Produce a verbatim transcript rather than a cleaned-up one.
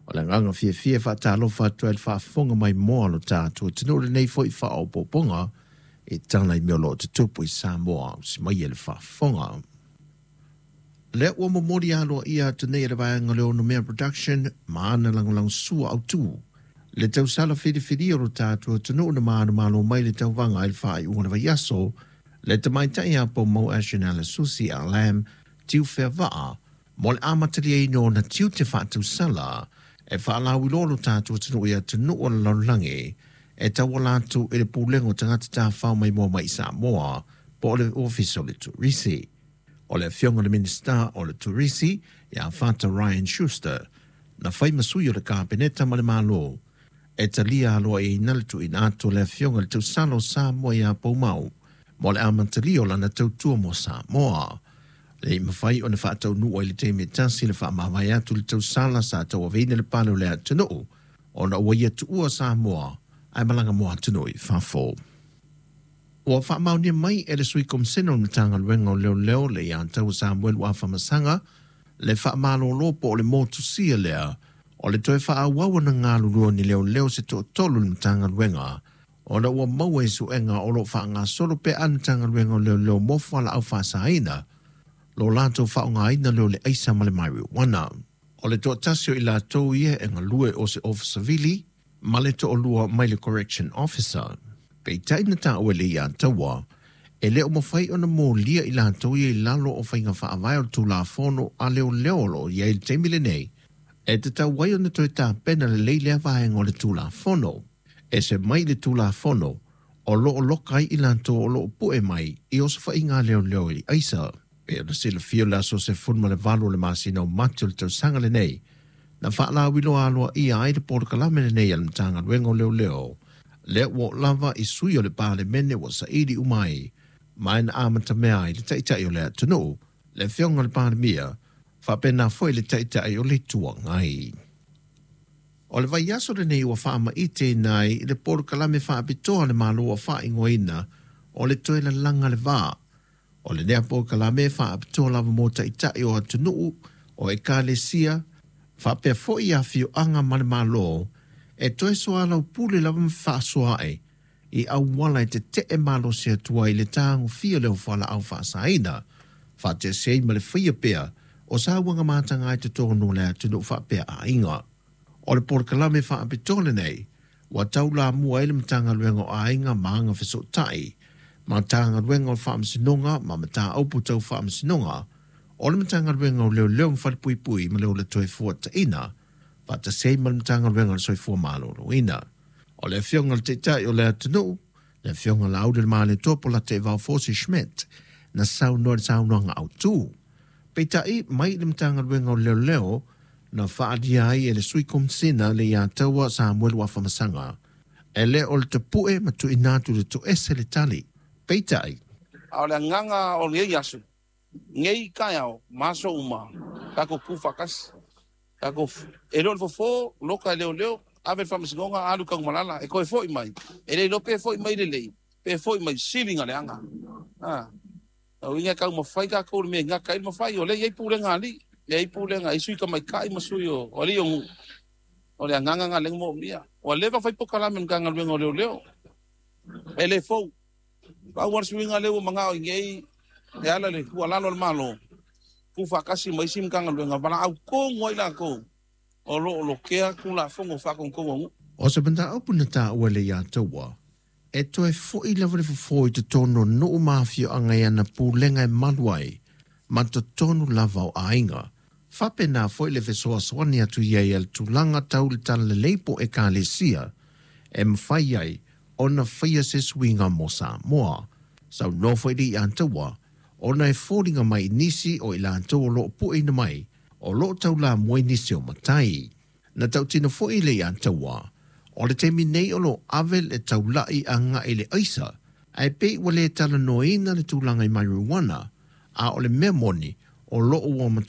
O le agaga fiafia e faatalofa atu ai i le faafofoga maimoa a lo tatou atunuu i lenei foi faaopoopoga e tala i mea o lo o tutupu i Samoa ausi mai e le faafofoga. Lea ua momoli aloaia atu nei e le vaega o le Onomea Production ma ana lagolagosua autu le tausala filifilia o lo tatou atunuu na manumalo mai le tauvaga i le faaiuga o le vaiaso le tamaitai ia Poumau Ashnella Susi Ah Lam Tiufeavaa mo le amataliaina o ona tiute faatausala e faalauiloa lo tatou atunuu i atunuu o le lalolagi e tauala atu i le Pulega o Tagata Tafafao Maimoa mai i Samoa po o le Ofisa o le Turisi. O le afioga i le Minisita o le Turisi ia Fata Ryan Schuster na fai ma sui o le Kapeneta ma le Malo e talia aloaiaina le tuuina atu o le afioga i le tausala o Samoa ia Poumau mo le amatalia o lana tautua mo Samoa. E le i mafai ona faataunuu ai i le taimi e tasi le faamavae atu i le tausala sa tauaveina le pale o le atunuu ona ua ia tuua Samoa ae malaga mo atunuu i fafo. Ua faamaonia mai e le Sui Komisena o le Matagaluega o Leoleo le ia Taua Samuelu Afamasaga le faamalolo po o le motusia lea o le toe faaauau ona galulue o ni leoleo se toatolu i le Matagaluega ona ua maua i suega o lo o faagasolo pea a le Matagaluega o Leoleo mo fualaau faasaina lo latou faaaogaina lea o le aisa ma le marijuana. O le toatasi o i latou ia e galue o se Ofisa Sivili ma le toalua mai le Correction Officer. Peitai na taua e le ia Taua, e le o mafai ona molia i latou ia i lalo o faiga faavae o le Tulafono a Leoleo o lo o i ai i le taimi lenei, e tatau ai ona toe tapena lelei lea vaega o le Tulafono. Ese mai le Tulafono o lo o loka ai i latou o lo o pue mai i osofaiga a leoleo i aisa. Pei ona silafia o le aso sefulu ma le valu o le masina o Mati o le tausaga lenei, na faalauiloa aloaia ai le polokalame lenei a le Matagaluega o Leoleo, lea ua oo lava i sui o le Palemene ua saili uma ai ma e na amatamea ai le Taitai o le atunuu, le Afioga i le Palemia, faapena foi le Taitai o le Itu Agai. O le vaiaso lenei ua faamaiteina ai le polokalame faapitoa a le Malo ua faaigoaina o le Toe Lalaga le Va. O lenei polokalame e faapitoa lava mo taitai o atunuu, o ekalesia, faapea foi afioaga ma le Malo e toe soalaupule lava ma fefaasoaai i auala e tetee malosi atu ai i le tagofia lea o fualaau faasaina, faatasi ai ma le faia pea o sauaga mataga i totonu o le atunuu faapea aiga. O le polokalame faapitoa lenei ua taulamua ai le Matagaluega o Aiga ma Agafesootai, Matagaluega o le Faamasinoga ma Mataupu Tau Faamasinoga, o le Matagaluega o Leoleo ma Falepuipui ma le Ola Toefuataiga, faatasi ai ma le Matagaluega o le Soifua Maloloina. O le Afioga i le Taitai o le atunuu, le Afioga Laaulialemalietoa Polataivao Fosi Schmidt, na saunoa i le saunoaga autu. Peitai mai le Matagaluega o Leoleo na faaalia ai e le Sui Komisina le ia Taua Samuelu Afamasaga, e le o le tapue ma tuuina atu i le toese le tali. Peitai, A o le agaga o lenei aso, nei taeao ma aso uma, tatou tu faatasi. Tatou e le o le fofo, loka e leoleo, ave i le faamasinoga, alu i Tanumalala, e toe foi mai. E le iloa pe foi mai lelei, pe foi mai sili na leaga. A, o uiga e taumafai tatou i le mea e gata ai le mafai. O lea e i ai pulega a alii, e i ai pulega, e i ai sui tamaitai ma sui o alii o nuu. O le agaga lena lea na moomia. Ua leva fai polokalame a le Matagaluega o Leoleo. E le fou. Pau lava le suiga lea ua manao i nei e ala i le tuualalo a le Malo, tuufaatasi ma isi Matagaluega, valaau tonu ai latou o lo o lokea Tulafono Faatonutonu a nuu. O se mataupu na taua e le ia Taua, e toe foi lava le fofo i totonu o nuu ma afioaga i ana pulega e malu ai ma totonu lava o aiga. Faapena foi le fesoasoani atu i ai a le tulaga tau le talalelei po o ekalesia e mafai ai ona faia se suiga mo Samoa. Saunoa foi le ia Taua, ona e foliga mai i nisi o i latou o lo o pueina mai, o lo o taulamua i nisi o matai. Na tautino foi le ia Taua, o le taimi nei o lo o ave le taulai agai i le aisa, ae pei ua le talanoaina le tulaga i marijuana, a o le mea moni o lo o ua